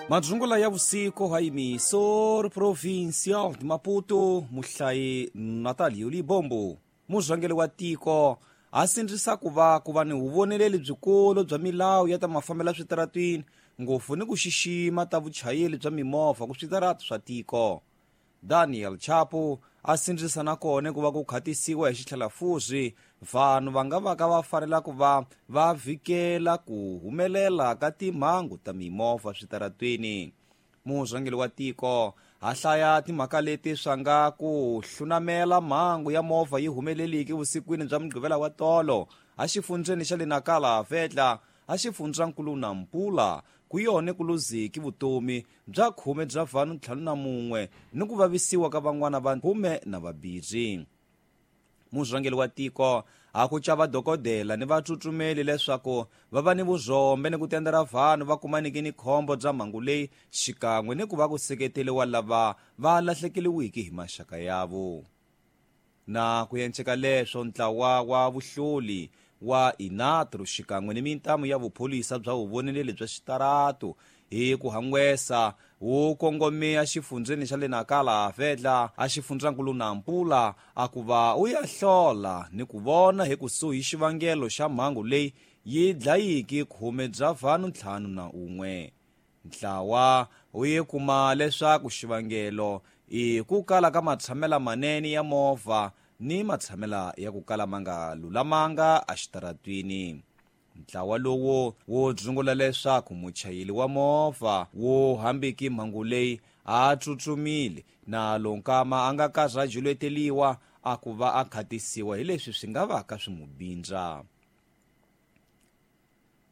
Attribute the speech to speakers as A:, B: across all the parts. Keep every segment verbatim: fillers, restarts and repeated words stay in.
A: Madzungula ya vusiku ha emissor provincial de Maputo muhlayi Natalio Libombo murhangeri wa tiko a sindzisa ku va ku va ni vuvoneleli byikulu bya milawu ya ta mafambelo switaratwini ngopfu ni ku xixima ta vuchayeri bya mimovha ku switarati swa tiko. Daniel Chapo a sindzisa na kona ku va ku khatisiwa hi xitlhelafuzi vanhu va nga va ka va fanela ku va va vhikela ku humelela ka timhangu ta mimovha switaratwini. Murhangeri wa tiko a hlaya timhaka leti swa nga ku hlunamela mhangu ya movha yi humeleliki vusikwini bya mugqivela wa tolo a xifundzeni xa le Nakala Vetla a xifundzankulu Nampula ku yone ku luziki vutomi bya khume bya vanhu ntlhanu na mun'we ni ku vavisiwa ka van'wana va khume na vambirhi. Murhangeri wa tiko a ku chava dokodela ni vatsutsumeli leswaku va va ni vuzombe ni ku tendela vanhu va kumaniki ni khombo bya mhangu leyi xikan'we ni ku va ku seketeriwa lava va lahlekeriwiki hi maxaka yavo. Na ku enceka leswo ntlawa wa vuhloli wa Inatro xikan'we ni mintamu ya vupholisa bya vuvoneleli bya xitaratu hi ku hangwesa wu kongomea xifundzeni xa le Nakala Vetla a xifundzankulu Nampula a ku va u ya hlola ni ku vona hi kusuhi xivangelo xa mhangu leyi yi dlayiki khume bya vanhu ntlhanu na un'we. Ntlawa wu ye kuma leswaku xivangelo i ku kala ka matshamela manene ya movha ni matshamela ya ku kala ma nga lulamanga exitaratwini. Ntlawa lowu wo dzungula leswaku muchayeri wa movha wo hambiki mhangu leyi a tsutsumile na lonkama a nga karhi a juleteliwa a ku va a khatisiwa hi leswi swi nga va ka swi mu bindza.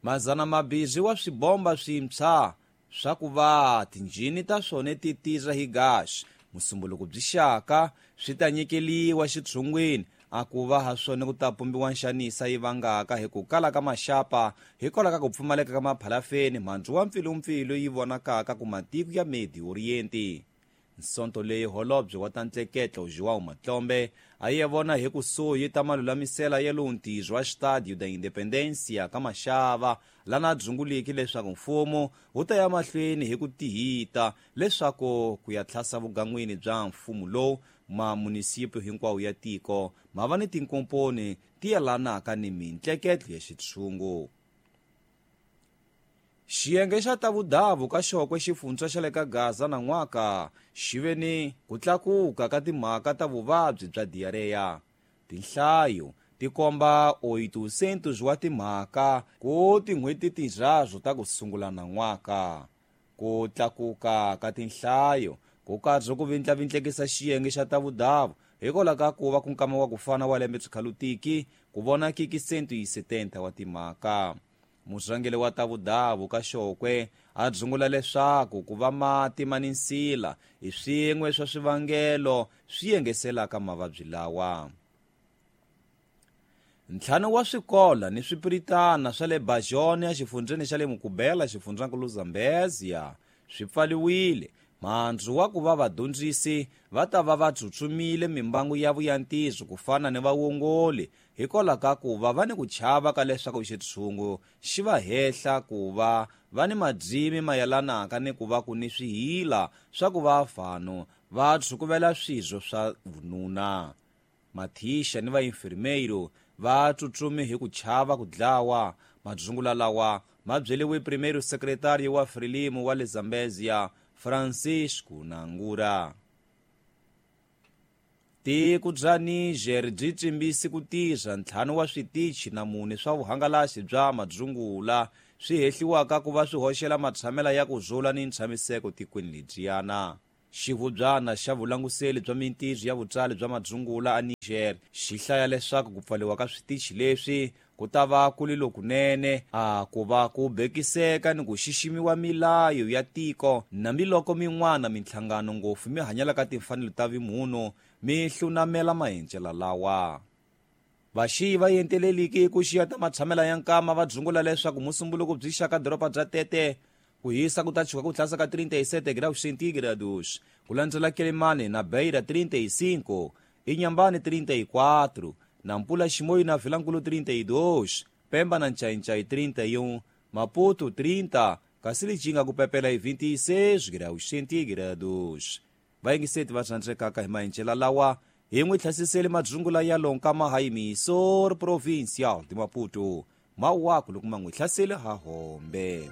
A: Mazana mabirhi wa swibomba swintshwa swa ku va tinjhini ta swona ti tirha hi gasi musumbuluko byi xaka swi ta nyikeliwa xitshungwini a ku va ha swona ku ta pumbiwa nxanisa yi vangaka hi ku kala ka maxapa hikwalaho ka ku pfumaleka ka maphalafeni mhandzu wa mpfilumpfilu yi vonakaka ku matiko ya Medi Orienti. Nsonto leyi holobye wa ta ntleketlo João Matlombe a ye vona hi kusuhi ta malulamisela ya lowu ntirho wa Estádio da Independência ka Maxava lana dzunguliki leswaku mfumo wu ta ya mahlweni hi ku tihita leswaku ku ya tlhasa vugan'wini bya mfumo lowu mamunisipi hinkwawo ya tiko ma va ni tinkomponi ti yelanaka ni mintleketlo ya xitshungu. Xiyenge xa ta vudavu ka xokwe xifundza xa le ka Gaza na n'waka xi ve ni ku tlakuka ka timhaka ta vuvabyi bya diarrhea. Tinhlayo ti komba oitocentos wa timhaka ku tin'hweti tinharhu ta ku sungula na n'waka. Ku tlakuka ka tinhlayo ku karhi ku vindlavindlekisa xiyenge xa ta vudavu hikwalaho ka ku va ku nkama wa ku fana wa lembe swikhalo-tiki ku vonakiki cento e setenta wa timhaka. Murhangeri wa ta vudavu ka xokwe a dzungula leswaku ku va mati ma ni nsila hi swin'we swa swivangelo swi yengeselaka mavabyi lawa. Ntlhanu wa swikola ni swipiritana swa le Bajone exifundzeni xa le Mukubela xifundzankulu Zambezia swi pfaliwile mhandzu wa ku va vadyondzisi va ta va va tsutsumile mimbangu ya vuyantiso ku fana ni vawongoli hikwalaho ka ku va va ni ku chava ka leswaku xitshungu xi va hehla ku va va ni madzimi mayelanaka ni ku va ku ni swihila swa ku va vanhu va tshukuvela swirho swa vununa. Mathisha ni vainfirmeiro va tsutsumi hi ku chava ku dlawa. Madzungula lawa ma byeliwe primeiro secretário wa Frelimo wa le Zambezia Francisco Nangura. Tiko bya Niger byi tsimbisi ku tirha ntlhanu wa switichi na mune swa vuhangalasi bya madzungula swi hehliwaka ku va swi hoxela matshamela ya ku zula ni ntshamiseko tikweni lebyiyana. Xivubyana xa vulanguseli bya mintirho ya vutsali bya madzungula a Niger xi hlaya leswaku ku pfaliwa ka switichi leswi ku ta va ku li lokunene a ku va ku bekiseka ni ku xiximiwa milayo ya tiko nambiloko min'wana minhlangano ngopfu mi hanyelaka timfanelo ta vimunhu mi hlunamela maendlelo lawa. Vaxiyi va yenteleliki ku xiya ta matshamela ya nkama va dzungula leswaku musumbuluko byi xaka doroba bya Tete ku hisa ku ta chuka ku tlhasa ka trinta e sete graus centígrados ku landzela Quelimane na Beira trinta e cinco, Inhambane trinta e quatro, Nampula Chimoio na Vilankulo trinta e dois, Pemba na Nchainchai trinta e um, Maputo trinta, kasi lijinga kupepela hi vinte e seis graus centígrados. Vayingiseti va rhandzekaka hi maendlela lawa hi n'wi tlhasisele madzungula ya lonka mahayimiso provincial de Maputo mawaku loko ma n'wi hlasele ha hombe.